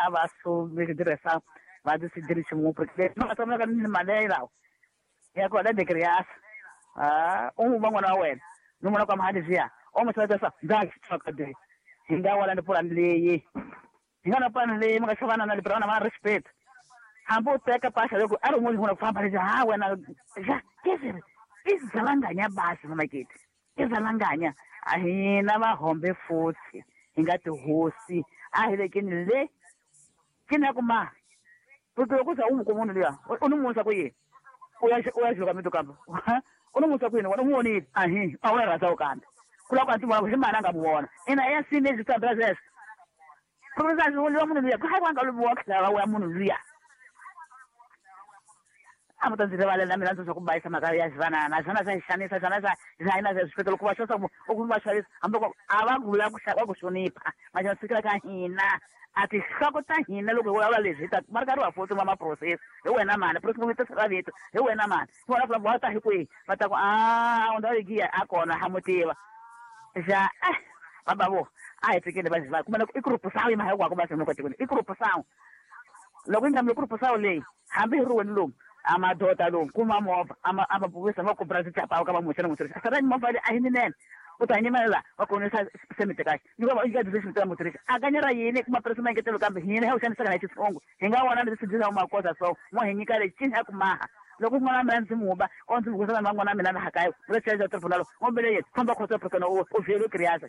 a va su diresa va decidir se mu porque no ta na ni maneira ya ko de criança ah um va ngwana wa wena no mona kwa mahadi zia o mo tsaya sa nda tsaka de hinga wala ni pulani leyi hinga na pulani leyi mi nga xavana na libra na respect hambi u teka pasha loko a ri un'wana ku famba lexi ha wena ja kesere izalanganya basi mamakete izalanganya a hina vahombe futhi hi nga tihosi a hi lekeni le ke na ku ma porque loko za u n'wi kuma munhu luya u ni musa ku yini u ya juka mito kambe u ni musa ku yini wena u n'wi vonile ahi a wu rhandza u kambe ku lava ku a ti vona hi mani a nga mu vona ina ya sini lexi tsambela sweswo professor luya munhu luya ku hayi wa nga luviwa khela wa munhu luya a mu ta ndzi rivalela mina ndzi swa ku bayisa mhaka ya xivanana swona swa xanisa swona swa hina swiphiqo loko va xavisa u kuma va xavisa hambi loko a va vula ku va ku hlonipha manje fikela ka hina a tinhloko ta hina loko hi vulavula leswi hi ta va ri karhi va futhi va ma-process hi wena mani process ra vito hi wena mani vona ku va ta hi kwihi va ta ku a unda giya a kona ha mu tiva xa baba vo a hi fikile va va kuma i group sawu yi mhaka ku va swi tikweni i group sawu loko yi nga mi group sawu leyi hambi hi ri wena lomu a madoda lomu kuma movha a ma buvisa va kubra tichapawu ka va muxe na mutirhisi a sara movha leyi a hi ninene u ta nyimela va konisa semite kahle ni va nyika decision ta mutirhisi a kanyera yini kuma press maengetelo kambe hina hi xanisaka na xitshungu hi nga vona leswi dyisa makosa so mo hi nyika lexi cini ya ku maha loko n'wana mina ndzi muba o ndzi mukusa na n'wana mina laha kaya u ta tribunal o mbele yena famba khoto prokana u vhelo kriasa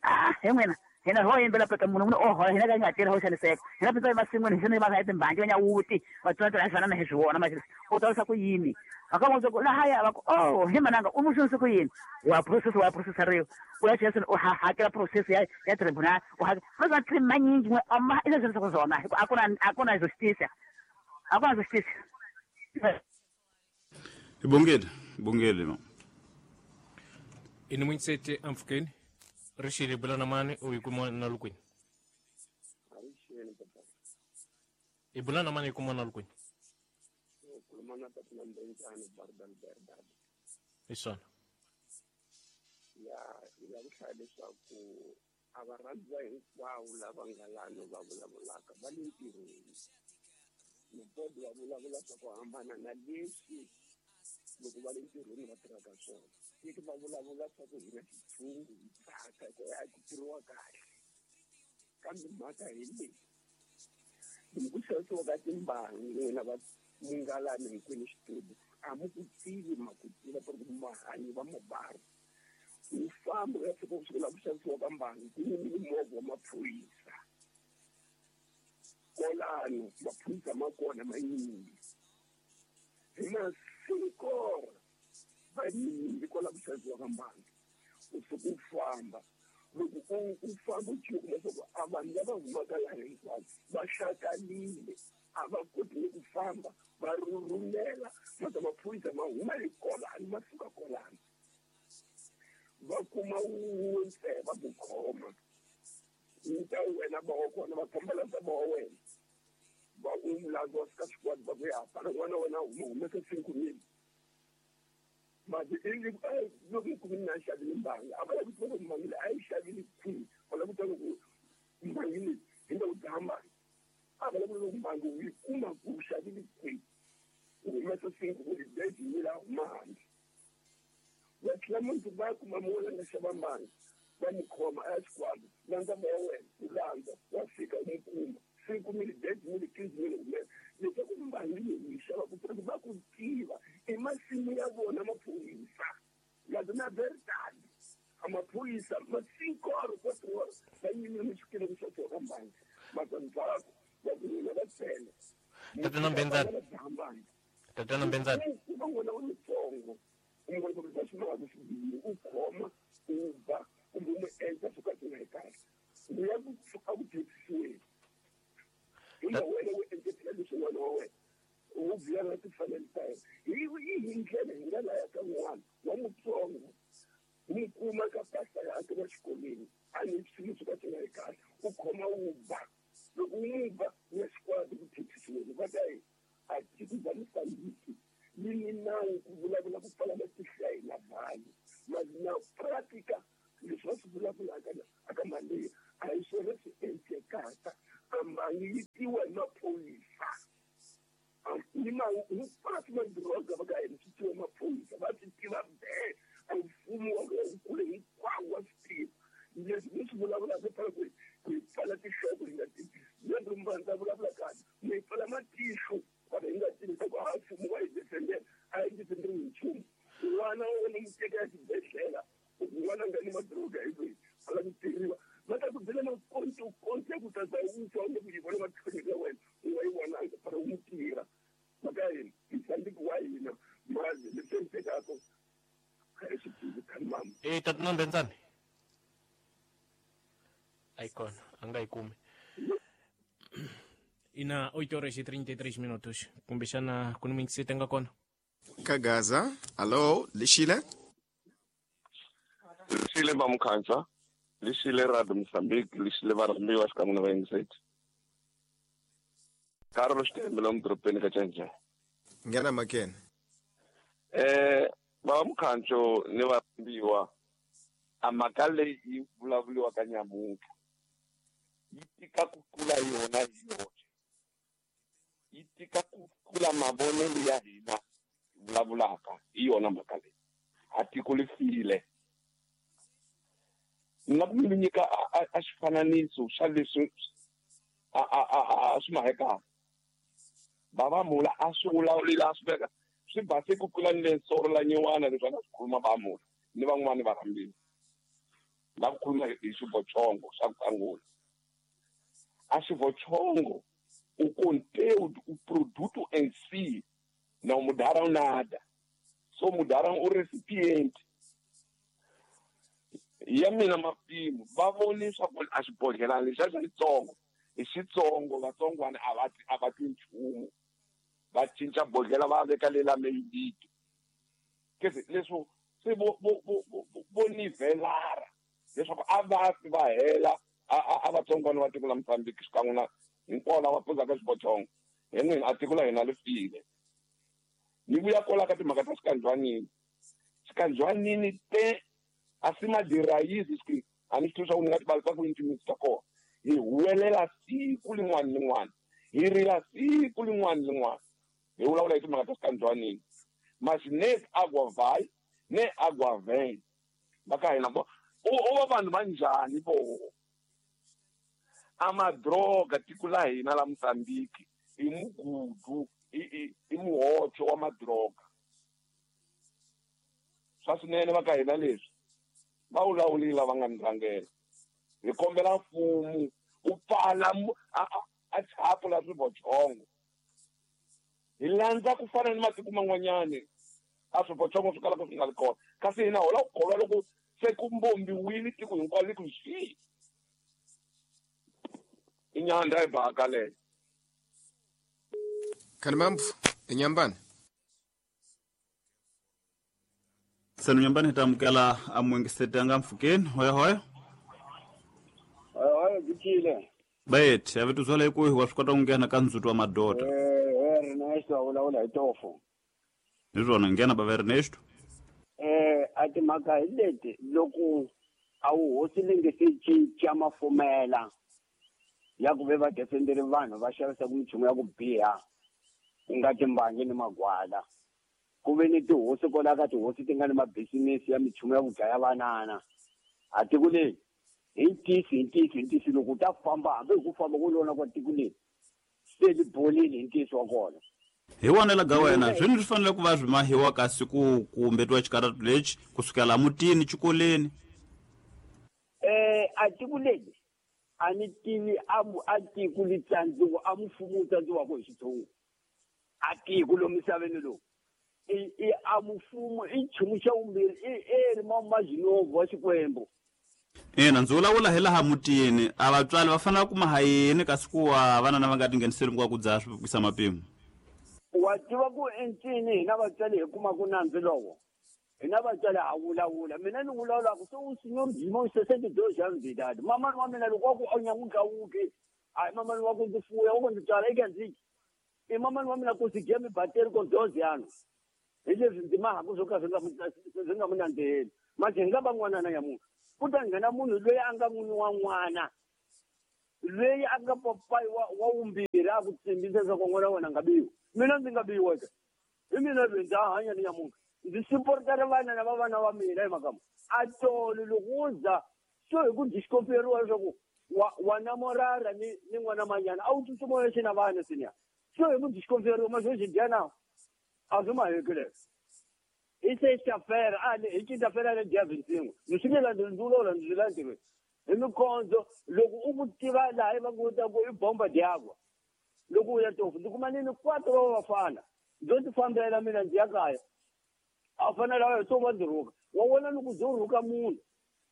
ah hi n'wina hina ho yimbela peta munhu o hola hina ka nga tirha ho xaniseka hina peta emasin'wini hi xana va timbangi va nyawuti va tswela tswela na hi swi vona manje u ta ku yini aka mo ku lahaya va ku oh hi mananga u muxonise ku yini wa process riyo u ya chesa u hakela process ya tribunal u hakela va manyingi n'we ama i leswi ku zona hi ku akuna justice akuna justice Ibongile ma ini munsete amfukeni rixile bula na mani u yi kuma na lukwini i bula na mani i kuma na lukwini hi swona ya ya ku hlaya leswaku a va rhandziwa hinkwavo lava nga lano va vulavulaka va le ntirhweni mubodi va vulavula swa ku hambana na leswi loko va le ntirhweni va tirhaka swona tiki va vulavula swa ku hina xitshungu hi tsaka ku ya ku tirhiwa kahle kambe mhaka hi leyi loko ku xavisiwa ka timbangi n'wina va mungalani hinkwenu xitudu a mu ku tivi ma ku tiva ku ri mahanyi va mabari u famba u ya fika ku sukela ku xavisiwa ka mbangi ku yimile movha wa maphorisa kolano maphorisa ma kona manyingi hi masinkora va yimile kwala ku xavisiwa ka mbangi u suka u famba loko u famba u chuka leswaku a vanhu lava humaka laha hinkwavo va hlakalile a va koti ni ku famba va rhurhumela mata maphorisa ma huma hi kolano ma suka kolano va kuma wun'we ntsena va ku khoma ta wena va wa kona va fambela ta va wa wena va u mulazi wa fika xikwadi va ku ya fana n'wana wena huma humesa 5 mil mati loko yi kumile na xavile mbangi a va lavi ku tiva ku mbangi leyi a yi xavile kwihi va lava ku tiva ku mbangi leyi hi nga ku dzaha mbangi a va lava ku mbangi u yi kuma ku xavile kwihi u humesa 5 mil bejimile a huma handle va tlhela mundzuku va ya kuma munhu a nga xava mbangi va mu khoma a ya xikwadi landza moya wena u landza wa fika u mu kuma 5 mil 10 mil 15 mil humesa leswaku mbangi leyi u yi xavaka porque va ku tiva i masimu ya vona maphorisa laza na verdade a maphorisa ma 5 horas 4 horas va yimile mixikile ku xavisiwa ka mbangi mata ndzhaku va ku n'wina va tsele Tatana Mbenzana. Tatana Mbenzana. ku va n'wana wa mutsongo u n'wana va xi maka xi u khoma u ba kumbe u n'wi endla swo ka swi nga hi kahle u ya ku a ku dyondzisiweni hi nga wena u endletela leswi n'wana wa wena u vuya na timfanelo ta yena hi hi ndlela hi nga laya ka n'wana wa mutsongo n'wi kuma ka pasta yakhe wa xikolweni a ni swilo swo ka swi nga hi kahle u khoma u ba loko u n'wi ba u ya xikwadi ku thethisiweni va ta yi a tiko bya Mozambique yi ni nawu ku vulavula ku pfala matihlo ya hina vanhu mali na pratica leswi va swi vulavulaka aka mali a hi swona swi endlekaka. Ambangi yi tiwa hi maphorisa. Ni ma hinkwaswo madoroba va ka hina swi tiwa maphorisa, va swi tiva be. A mfumo wa kule hinkwawo wa swi tiva. Leswi ni swi vulavulaka pfala ku hi pfala tinhloko hi nga tivi. Lero ndza vulavula kahle, mi hi pfala matihlo kwala hi nga tivi leswaku a mfumo wa hi defendela, a hi defenderiwi hi nchumu. N'wana wa wena n'wi teka exibedhlele, n'wana a nga ni madroga hi loyi a lava ku tirhiwa. Va ta ku byela makontokonto ya ku ta za u fa u nge ku yi vona matlhonyo ya wena, u nga yi vonanga fana u n'wi tirha. Mhaka ya hina, Mozambique wa hina, mazi leswi endlekaka a hi swi tivi khalimama. E tatana Mbenzani a yi kona, a nga yi kumi. Ina 8 horas e 33 minutos. Kumbexana ku ni muyingiseti a nga kona. Kagaza, alo, lixile? Lixile Mamukhansa, lixile Radio Mozambique, lixile varhambiwa xikan'we na vayingiseti. Carlos Xitembe lomu dorobeni ka Canca. Nghena makene. Baba Mukhancho ni varhambiwa, a mhaka leyi yi vulavuriwaka nyamuntlha yi tika ku tlula yona hi yoxe. Yi tika ku tlula mavonelo ya hina hi vulavulaka hi yona mhaka leyi. A tiko li file. Ni nga ku mi nyika a xifananiso xa leswi a swi mahekaka. Bava Mula a swi vulavulile a swi veka swi base ku tlula ni le soro la nyiwana leswi a nga swi khuluma Bava Mula ni van'wani va rhambile. La ku khuluma hi xivochongo xa ku sungula. A xivochongo o conteúdo, o produto em si, não mudaram nada. Só mudaram o recipiente. Ya mina mapimo, va voni swa ku a xibodhlelana lexiya xa xitsongo, hi xitsongo vatsongwana a va twi nchumu. Va cinca bodhlela va veka le la meyiliti. Kese leswo se vo nivelara leswaku a va fi va hela a vatsongwana va tiko la Mozambique xikan'we na hinkwavo lava pfuzaka xibochongo. Hi n'wina a tiko la hina li file. Ni vuya kwala ka timhaka ta xikandzwanini. Xikandzwanini te a si madirayizi swi a ni swi tivi swa ku ni nga tibalisa ku yini timitsu ta kona. Hi huwelela siku lin'wana ni lin'wana, hi rila siku lin'wana ni lin'wana, hi vulavula hi timhaka ta xikandzwanini. Mas ne agua vai ne agua vem. Va ka hina vo o va vanhu va njhani vo? A madroga tiko la hina la Mozambique i mugudu, i muhocho wa madroga. Swa swinene va ka hina leswi va vulavulile lava nga ni rhangela. Hi kombela mfumo wu pfala a thapu la swivochongo. Hi landza ku fana ni matiko man'wanyani a swivochongo swi kalaka swi nga ri kona. Kasi hina ho lava ku kholwa loko se ku mbombiwile tiko hinkwaro li ku xii. I nyandza yi baka leyo. Khalimambu, inyambani. Senu nyambani hi ta amukela a muyingiseti a nga mpfhukeni. Hoya hoya. Hoya hoya, byi Bayet, a vito zwala hi ku wa swi kota ku nghena ka ndzhuti wa madoda. Ernesto a vulavula hi tofo. Hi swona, nghena bava Ernesto. A timhaka hi leti loko a wu hosi li nge se cinca mafumela ya ku ve va defenderi vanhu va xavisaka minchumu ya ku biha ku nga timbangi ni magwala. Ku ve ni tihosi kwala ka tihosi ti nga ni mabisinesi ya minchumu ya ku dlaya vanana. A tiko leri hi ntiyiso, hi ntiyiso, hi ntiyiso loko u ta famba hambi hi ku famba ku lona kwa tiko leri se li bolile hi ntiyiso wa kona. Hi vonela ga wena, swini swi fanele ku va swi mahiwa kasi ku kumbetiwa xikaratu lexi kusukela mutini xikoleni? A tiko leri a ni tivi a tiko li tsandziwa, a mfumo wu tsandziwaka hi xitshungu. A tiko lomu misaveni lowu i a mfumo i nchumu xa vumbirhi i eri mazinovu wa Xikwembu. Ina, ndzi vulavula hi laha mutini, a vatswari va fanele ku maha yini kasi ku wa vana lava nga tingheniseli ku ku dzaha swi kwisa mapimo? Wa tiva ku encini hina vatswari hi kuma ku nandzu lowo. Hina vatswari ha vulavula. Mina ni vulavulaka se u senhor Jimão 62 anos de idade. Mamani wa mina loko wa ku a nyanguka wuke, a mamani wa ku ndzi fuya, wa ku ndzi tswala eka ndzi. I mamani wa mina ku si gemi bateri ko 12 anos. Hi leswi ndzi mahaku swo ka swi nga mu nandziheli. Manje hi nga va n'wana na nyamuntlha. Ku ta nghena munhu loyi a nga n'wini wa n'wana. Leyi a nga papayi wa vumbirhi a ku tsimbisa leswaku n'wana wa wena a nga biwi. Mina ndzi nga biwa ke. Hi mina loyi ndza ha hanya ni nyamuntlha. Ndzi supportara vana na vavana va mina hi mhaka a tolo loko wo za so hi ku discoperiwa leswaku wa namorara ni n'wana manyana a wu tsutsuma yexe na vana senior. So hi ku discoperiwa ma swo xi dya na a swi maheki leswo. I sexta-feira a hi quinta-feira le dia 25. Ndzi swi nge landzi ndzi vulavula ndzi landzeriwe. Hi mikondzo loko u ku tiva laha va ku ta ku i bomba diagwa. Loko u ya tofu ndzi kuma ni quatro wa vafana. Ndzo ti fambela mina ndzi ya kaya. A fanele a so va ndzi rhuka. Wa vona loko ndzo rhuka munhu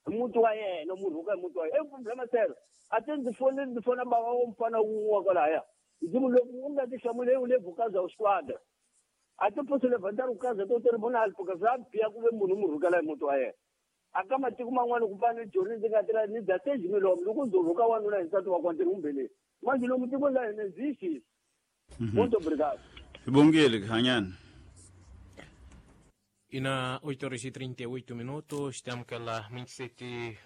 hi muti wa yena mu rhuka hi muti wa yena. I problema sero. A ti ndzi foneli ndzi fona bava wa mufana wun'we wa kwalahaya. Ndzi ku loko u nga ti hlamuli u le Vukaza u squadra. A ti posso levantar o caso do tribunal porque swa biha ku ve munhu mu rhukela hi muti wa yena. A ka matiko man'wana ku fana ni Joni ndzi nga tirha ni dya seji milomo loko ndzo rhuka wanuna hi nsati wa kona ndzi ri humbeleni. Manje lomu tikweni la hina existe. Muito obrigado. Bongile hanyana. E na 8h38 minutos, temos aquela 27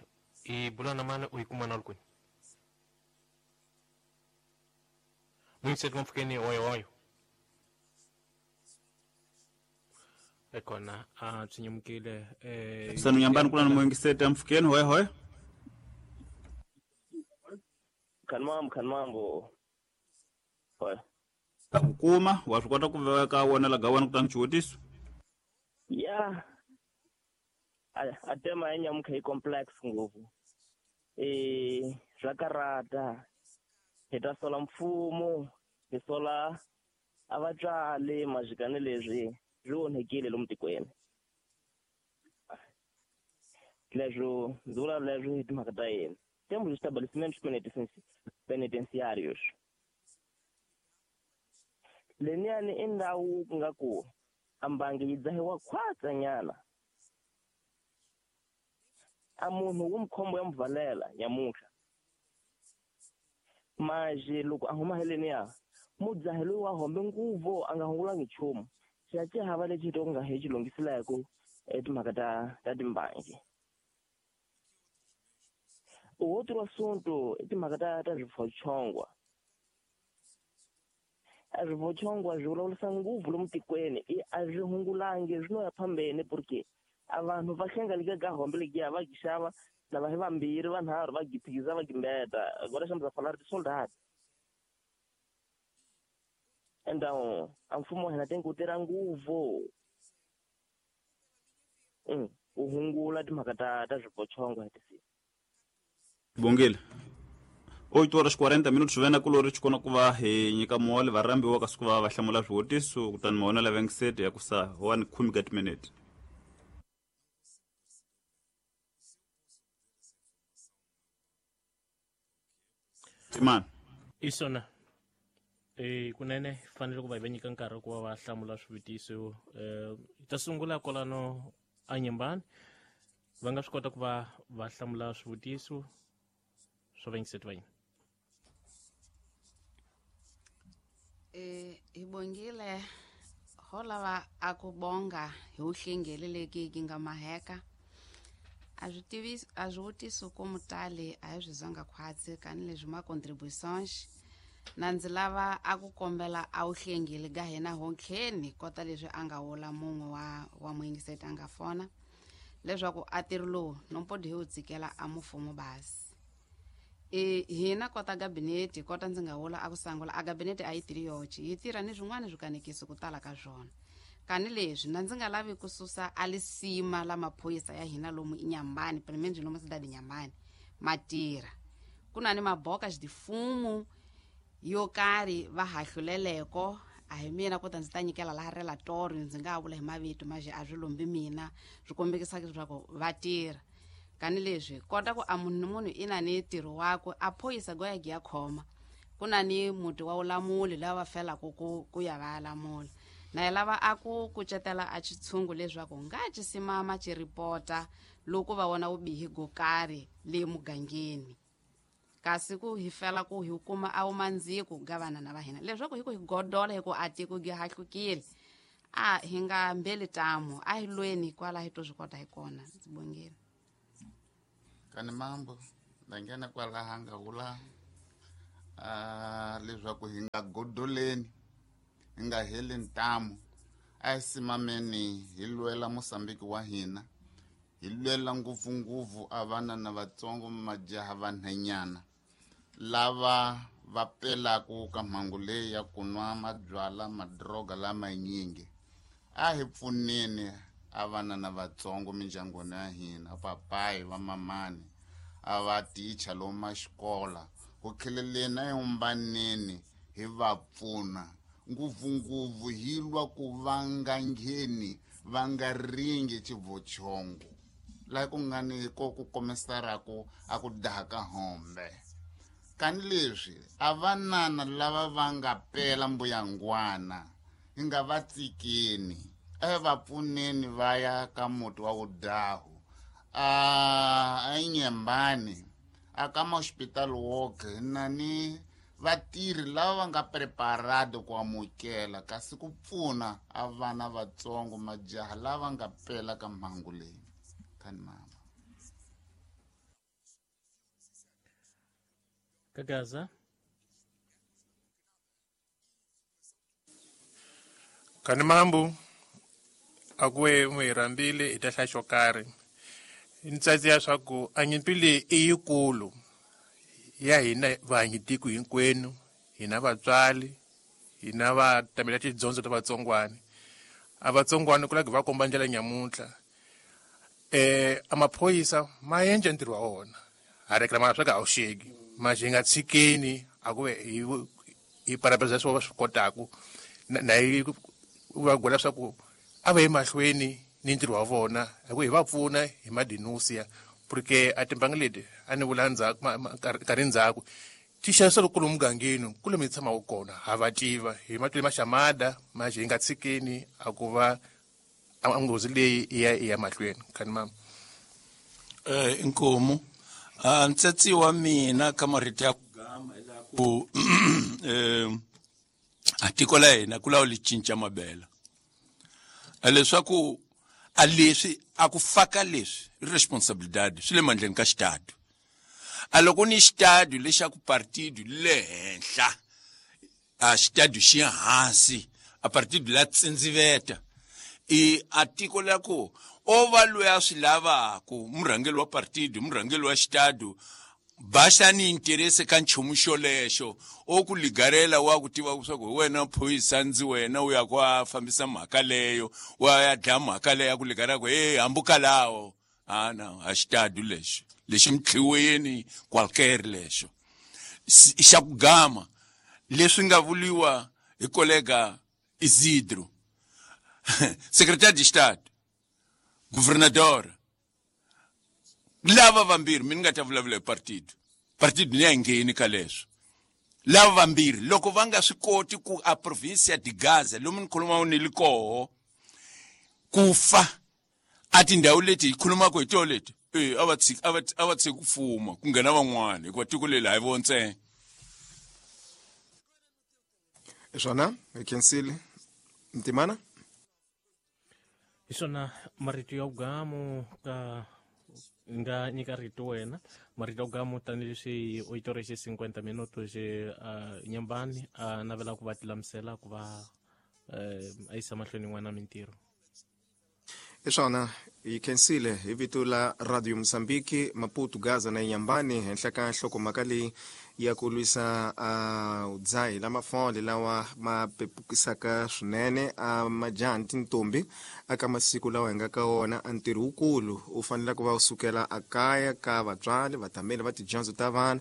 e bulana mana o ikumana alcuni. 27 vamos oyo oyo. Ekona a tsinyamukile sanu nyambani kula mwingisete amfukeni hoye hoye. Kanmambo. Hoye. Kuma wa swi kota ku veka wona la gawana kutani xivutiso. Ya. A tema ya nyamuka hi complex ngopfu. Swa karata. Hi ta sola mfumo, hi sola a vatswari majikani leswi swi onhekile lomu tikweni. Leswo ndzi vula leswo hi timhaka ta yena. Temos estabelecimentos penitenciários. Leniyani i ndhawu ku nga ku a mbangi yi dzahiwa khwatsanyana. A munhu wu mukhombo ya mupfalela nyamuntlha. Maje loko a huma heleniya mudzahi loyi wa hombe nguvu a nga hungulangi nchumu. Xi hava lexi to nga hi xi lunghiselaka timhaka ta timbangi. Outro assunto i timhaka ta swivochongwa. A swivochongwa swi vulavurisa ngopfu lomu tikweni i a swi hungulangi swi no ya phambeni porque a vanhu va hlengeleke ka hombe lekiya va xava lava hi vambirhi vanharhu va giphiza va gimbeta agora estamos a falar de soldado. Então a mfumo wa hina tem ku tirha ngopfu u hungula timhaka ta swivochongwa hi tisiku. Bongile. 8h40 minutos vena kulori xikona ku va hi nyika mole varhambiwa kasi ku va va hlamula swivutiso kutani maona la vengisete ya kusa 1:10 minutes. Timani. Isona. Kunene fanele ku va hi va nyika nkarhi ku va va hlamula swivutiso. Ta sungula kwalano a Nyembani. Va nga swi kota ku va va hlamula swivutiso swa vengisete va yini. Hi bongile ho lava a ku bonga hi uhlengeleleki ki nga maheka. A swi tivisi a swi vutiso ku mutali a hi swi zonga khwatsi kani leswi ma contributions na ndzi lava a ku kombela a wu hlengeli ga hina hontlheni kota leswi a nga wula mun'we wa muyingiseti a nga fona leswaku a tirhi lowu nompodi hi wu tsikela a mufumo basi. Hina kota gabinete kota ndzi nga wula a ku sangula a gabinete a yi tirhi yoxe yi tirha ni swin'wana swikanekiso ku tala ka swona. Kani leswi na ndzi nga lavi ku susa a lisima la maphorisa ya hina lomu Inhambane pelo menos lomu cidade Inhambane ma tirha. Ku na ni maboka xitifumu yo karhi va hahluleleko a hi mina kota ndzi ta nyikela laha relatorio ndzi nga vula hi mavito maje a swi lombi mina swi kombekisaka leswaku va tirha. Kani leswi kota ku a munhu ni munhu i na ni ntirho wakwe a phorisa go ya giya khoma ku na ni muti wa ulamuli lava va felaka ku ya va ya lamula. Na hi lava a ku kucetela a xitshungu leswaku nga ci simama ci ripota loko va vona vubihi go karhi le mugangeni. Kasi ku hi fela ku hi kuma a wu mandziko ga vana na va hina leswaku hi ku hi godola hi ku a tiko gi hahlukile a hi nga mbeli tamu a hi lweni kwala hi to swi kota hi kona. Ndzi bongile. Kani mambo ndangena kwala hanga wula Leswaku hi nga godoleni, hi nga heli ntamu, a hi simameni hi lwela Mosambiki wa hina, hi lwela ngopfungopfu a vana na vatsongo, majaha, vanhanyana lava va pelaku ka mhangu leyi ya ku nwa mabyala, madroga lamanyingi. A hi pfuneni a vana na vatsongo mindyangwini ya hina, papayi, vamamani, a va ticha lomu maxikola, ku kheleleni a yumbaneni hi va pfuna ngopfungopfu hi lwa ku va nga ngheni, va nga ringi xivochongo laha ku nga ni ko ku komisaraku a ku daha ka hombe. Kani leswi a vanana lava va nga pela mbuyangwana hi nga va tsikeni, a hi va pfuneni va ya ka muti wa vudahu, a Nyembani, a ka mahospital woke na ni vatirhi lava va nga preparado ku amukela kasi ku pfuna a vana vatsongo, majaha lava nga pela ka mhangu leyi. Kani mama. Kagaza. Kani mambu akuwe mwirambile itahla xo karhi. Ntsatsi ya swa ku a nyimpi leyi i yikulu ya hina vanhu tiko hinkwenu, hina vatswari, hina va tamela tidyondzo ta vatsongwana. A vatsongwana ku lava va komba ndlela nyamuntlha. A maphorisa ma endla ntirho wa wona, ha reklamana swa ka a wu xeki, ma xi nga tshikeni a ku ve hi parapesa leswi va swi kotaku na hi va gwela swa ku a va emahlweni ni ntirho wa vona, hi ku hi va pfuna hi madinusiya, porque a timbangi leti a ni vula ndzhaku nkarhi ndzhaku ti xavisa kulu mugangeni kule mi tshamaka kona, ha va tiva hi matwile maxamada ma xi nga tshikeni a ku va a nghozi leyi i ya mahlweni. Khani mama. Inkomu ntsatsi wa mina ka marito ya ku gama ila ku a tiko la hina ku lawa li cinca mabela leswaku a leswi a ku faka leswi responsabilidade swi le mandleni ka xitadu. A loko ni xitadu lexaku partido le henhla, a xitadu xi hansi, a partido la tsindziveta i a tiko la ku o va loyi a swi lavaku murhangeri wa partido, murhangeri wa xitadu baxa ni interese ka nchumu xolexo, o ku ligarela wa ku tiva leswaku hi wena phorisa ndzi wena u ya ku a fambisa mhaka leyo, wa ya dlaya mhaka leyo, a ku ligarela ku hey hambuka lawo ana a xitadu lexo lexi mtlhiweni qualquer lexo xa ku gama leswi nga vuliwa hi kolega Isidro, secrétaire de Estado, governador, lava vambirhi mi ni nga ta vulavula hi partido, partido ni ya ngheni ka leswo. Lava vambirhi loko va nga swi koti ku a provinsia de Gaza lomu ni khulumaka ni li koho ku fa a tindhawu leti hi khulumaka hi toho leti, a va tshiki, a va tshiki ku fuma ku nghena van'wana, hikuva tiko leri a hi vo ntsena. Swona hi khensile ntimana. Hi swona marito ya vugamu ka nga nyika rito wena, marito ya vugamu tanihileswi u yi torexi 50 minuto xi Nyembani a navela ku va tilamusela ku va a yisa mahlweni n'wana mintirho. Hi swona hi khensile hi vito la Radio Mozambique, Maputo, Gaza na Nyambani henhla ka nhlokomhaka leyi ya ku lwisa a udzahi la mafole lawa ma pepukisaka swinene a majaha ni tintombi aka masiku lawa hi nga ka wona. A ntirho wukulu u fanele ku va u sukela a kaya ka vatswari, vatameli va tidyondzo ta vana,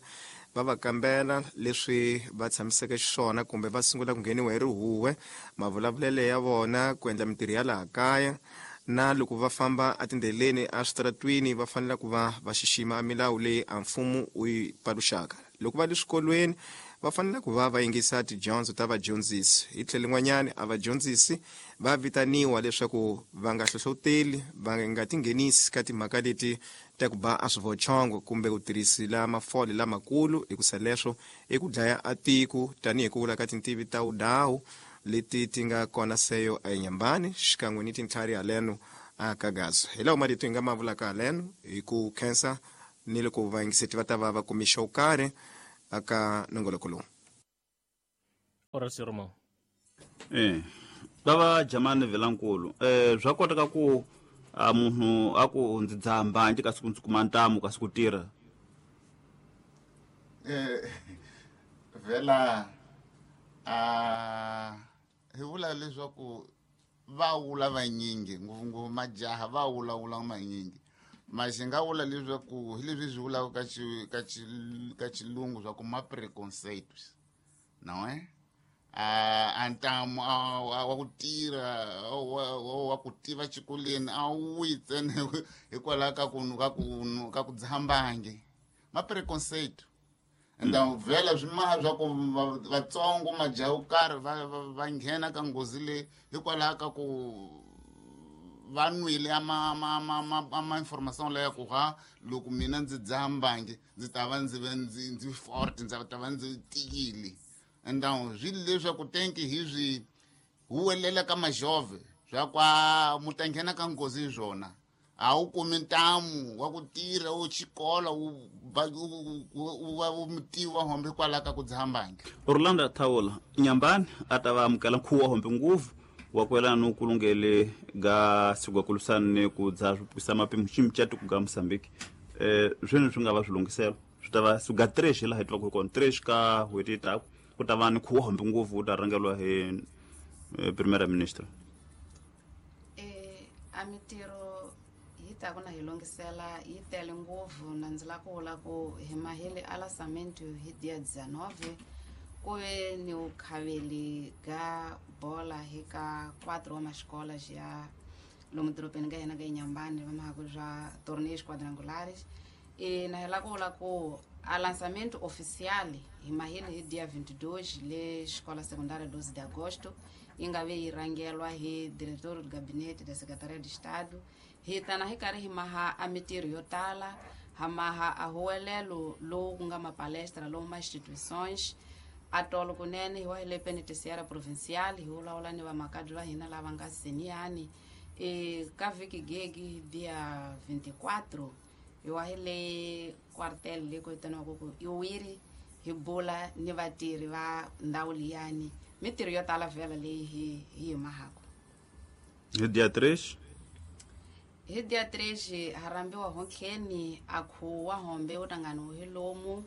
va va kambela leswi va tshamiseke xiswona kumbe va sungula ku ngheniwa hi rihuwe, mavulavulelo ya vona, ku endla mintirho ya laha kaya, na loko va famba etindleleni eswitaratwini va fanele ku va va xixima milawu leyi a mfumo wu yi paluxaka. Loko va le swikolweni va fanele ku va va yingisa tidyondzo ta vadyondzisi. Hi tlhelo rin'wanyani a vadyondzisi va vitaniwa leswaku va nga hlohloteli, va nga tinghenisi ka timhaka leti ta ku ba a swivochongo kumbe ku tirhisila mafole lamakulu, hikusa leswo i ku dlaya a tiko, tanihi ku vula ka tintivi ta wudawu leti ti nga kona seyo eNyambani xikan'we ni tintlhari haleno a Kagazo. Hi lawo marito hi nga ma vulaka haleno, hi ku khensa ni loko vayingiseti va ta va va kumixa wo karhi. aka nongoloko lowu. Horacio Romão. Bava Jamani Vilankulu, swa koteka ku munhu a ku ndzi dzaha mbanje kasi ku ndzi kuma ntamu kasi ku tirha? Vhela hi vula leswaku va vula vanyingi, ngopfungopfu majaha va vulavula manyingi. Maxi nga vula leswaku hi leswi swi vulaka ka xilungu swa ku ma preconcepts, nawe a ntamu wa ku tirha wa ku tiva xikolweni a wu yi ntsena hikwalaho ka ku dzaha mbangi, ma preconcept. Enda vhela swi maha swa ku vatsongo majaha yo karhi va nghena ka nghozi leyi hikwalaho ka ku va nwile ama information leya ku ha loko mina ndzi dzaha mbangi ndzi ta va ndzi ve ndzi forte, ndzi ta va ndzi tiyile. Enda swi leswaku tenki hi swi huwelela ka majove swa kwa mu ta nghena ka nghozi hi swona. A wu kumi ntamu wa ku tirha wu xikolo wu va wu mutivi wa hombe kwalaho ka ku dzaha mbangi. Orlando Thaula Nyambani a ta va amukela nkhuvo wa hombe ngopfu wa ku yelana ni kulungele ga siku ga ku lwisana ni ku dzaha swi pwisa mapimo xi mucato ku ga Mozambique. Swini swi nga va swilunghiselo swi ta va siku ga 3 laha hi twaka hi kona 3 ka n'hweti yi taka ku ta va ni nkhuvo wa hombe ngopfu wu ta rhangeriwa hi Premier Minister. A mitirho yi ta ku na hi lunghisela yi tele ngopfu, na ndzi lava ku vula ku hi mahele a lançamento hi dia 19 ku ve ni vukhaveli ga bola hi ka 4 wa maxikola ya lomu dorobeni ka hina ka Inhambane va mahaku swa torneios quadrangulares. Na hi lava ku vula ku a lançamento oficial hi mahele hi dia 22 le xikola secundária 12 de agosto, yi nga ve yi rhangelwa hi diretor do gabinete da Secretaria de Estado. Hi tana hi karhi hi maha a mitirho yo tala, ha maha a huwelelo lowu ku nga mapalestra lomu ma instituições a tolo kunene hi wa hi le penitenciária provincial hi vulavula ni vamakadzi va hina lava nga seniyani. Ka vhiki gegi dia 24 hi wa hi le quartel le ku vitaniwaka ku i wiri, hi bula ni vatirhi va ndhawu liyani. Mitirho yo tala vhela leyi hi yi mahaka. Hi dia 3? Hi dia 3 ha rhambiwa hontlheni a khuwa hombe wu tangani hi lomu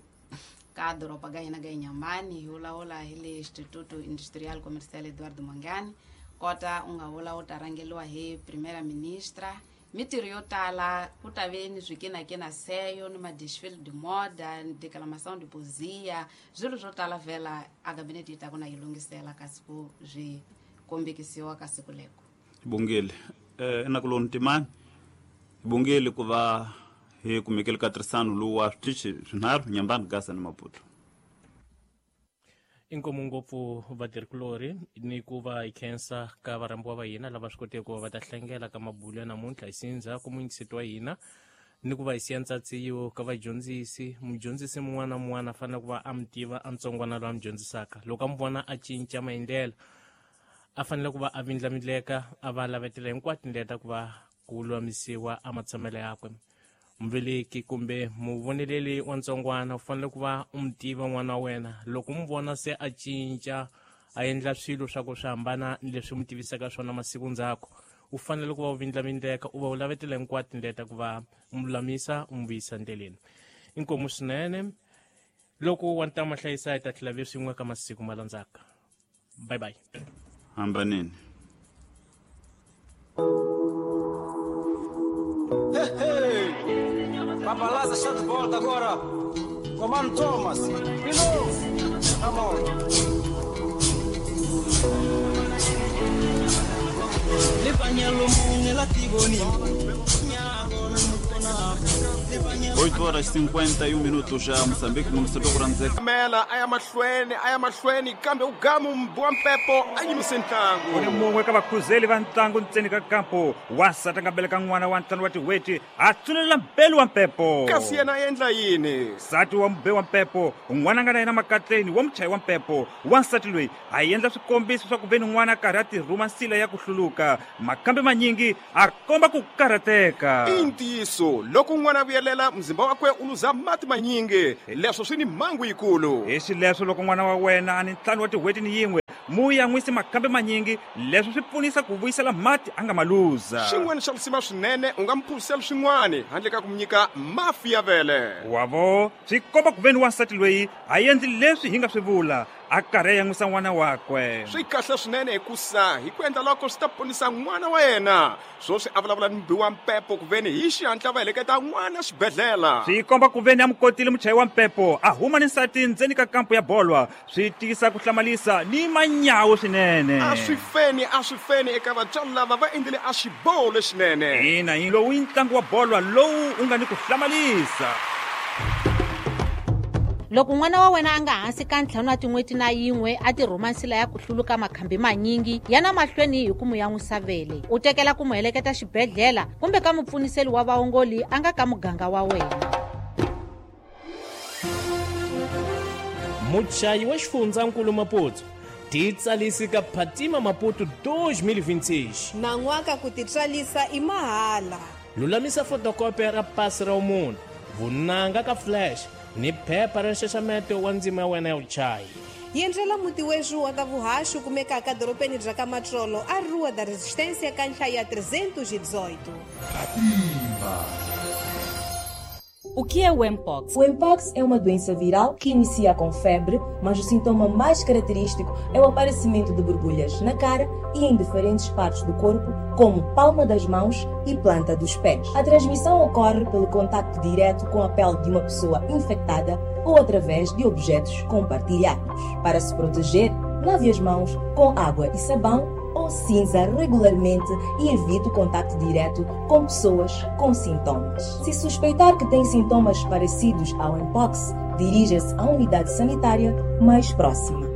ka doroba ga hina ga Inhambane, hi vulavula hi le Instituto Industrial Comercial Eduardo Mangani, kota u nga vula wu ta rhangeriwa hi Primera Ministra. Mitirho yo tala ku ta ve ni swikinakina seyo ni madesfile de moda ni declamação de poesia, swilo swo tala vhela a gabinete yi ta ku na yi lunghisela kasi ku swi kombekisiwa ka siku leko. Bongile enakuloni timani, bongile ku va hi kumekele ka tirhisano lowu wa switichi swinharhu, Nyambani, Gaza ni Maputo. Inkomu ngopfu vatirhikulorhi ni ku va hi khensa ka varhambiwa va hina lava swi koteke ku va va ta hlengela ka mabulo ya namuntlha hi sindza ku muyingiseti wa hina, ni ku va hi siya ntsatsiyo ka vadyondzisi. Mudyondzisi mun'wana na mun'wana a fanele ku va a mi tiva a ntsongwana loyi a mi dyondzisaka, loko a mi vona a cinca maendlelo a fanele ku va a vindlamindleka, a va lavetela hinkwato tindlela ta ku va ku lulamisiwa a matshamelo yakwe. Muveleki kumbe muvoneleli wa ntsongwana u fanele ku va u mi tiva n'wana wa wena, loko mu vona se a cinca a endla swilo swa ku swi hambana ni leswi mu tivisaka swona masiku ndzhaku, u fanele ku va u vindlamindleka, u va u lavetela hinkwato tindlela ta ku va u lulamisa, u mu vuyisa ndleleni. Inkomu swinene loko wa ntama hlayisa, hi ta tlhela ve swin'we ka masiku ma landzaka. Bye bye. Hambaneni. Hey, hey. Papalaza está de volta agora. Comando Thomas. De novo. Come on. 8 horas 51 minutos já Moçambique, município de Mela a ya mahlweni kambe u gamu wa mpepo a yimise ntlangu. U ni mun'we ka vakhuzeli va ntlangu ntseni ka kampo, wansati a nga beleka n'wana wa 5 wa tin'hweti a tsunelela mbeli wa mpepo. Kasi yena a endla yini? Nsati wa mube wa mpepo, n'wana a nga na yena makatleni wa muchayi wa mpepo. Wansati loyi a endla swikombiso swa ku ve ni n'wana a karhi a tirhuma nsila ya ku hluluka, makambe manyingi a komba ku karhateka. I ntiyiso loko n'wana a vuyelela. Mzimba wakwe u luza mati manyingi, leswo swi ni mhangu yikulu. Hi xileswo loko n'wana wa wena a ni 5 wa tin'hweti ni yin'we, mu yan'wisi makhambi manyingi, leswo swi pfunisa ku vuyisela mati a nga ma luza. Xin'wana xa lisima swinene, u nga mu phuzisela swin'wana handle ka ku mu nyika mafi ya vele. Wavo, swi komba ku veni wansati loyi a endli leswi hi nga swi vula, a karhi a yan'wisa n'wana wakwe. Swi kahle swinene hikusa hi ku endla loko swi ta ponisa n'wana wa yena. Swoswi a vulavula ni mubi wa mpepo ku veni hi xihatla va heleketa n'wana xibedhlele. Swi komba ku veni a mu kotile muchayi wa mpepo a huma ni nsati ndzeni ka kampo ya bolwa, swi tiyisa ku hlamalisa ni manyawu swinene. A swi feni eka vatswari lava va endlile a xiboho lexinene. Ina, lowu i ntlangu wa bolwa lowu u nga ni ku hlamalisa. Loko n'wana wa wena a nga hansi ka 5 wa tin'hweti na yin'we a tirhuma nsila ya ku hluluka makhambi manyingi, yana mahlweni hi ku mu yan'wisa vele. U tekela ku mu heleketa xibedhlele kumbe ka mupfuniseli wa vaongoli a nga ka muganga wa wena. Muchayi wa xifundzankulu Maputo titsalisi ka Phatima Maputo 2026. Nan'waka ku titsalisa i mahala. Lulamisa fotokopi ra pasi ra munhu, vunanga ka flash ni phepha ra nxaxameto wa ndzima ya wena ya vuchayi. Yendlela muti wexu wa ta vuhaxi kumekaka dorobeni bya ka Matsolo a Rua da Resistência ka nhlayo ya 318. Phatima. O que é o Mpox? O Mpox é uma doença viral que inicia com febre, mas o sintoma mais característico é o aparecimento de borbulhas na cara e em diferentes partes do corpo, como palma das mãos e planta dos pés. A transmissão ocorre pelo contacto direto com a pele de uma pessoa infectada ou através de objetos compartilhados. Para se proteger, lave as mãos com água e sabão ou cinza regularmente e evite o contacto direto com pessoas com sintomas. Se suspeitar que tem sintomas parecidos ao Mpox, dirija-se à unidade sanitária mais próxima.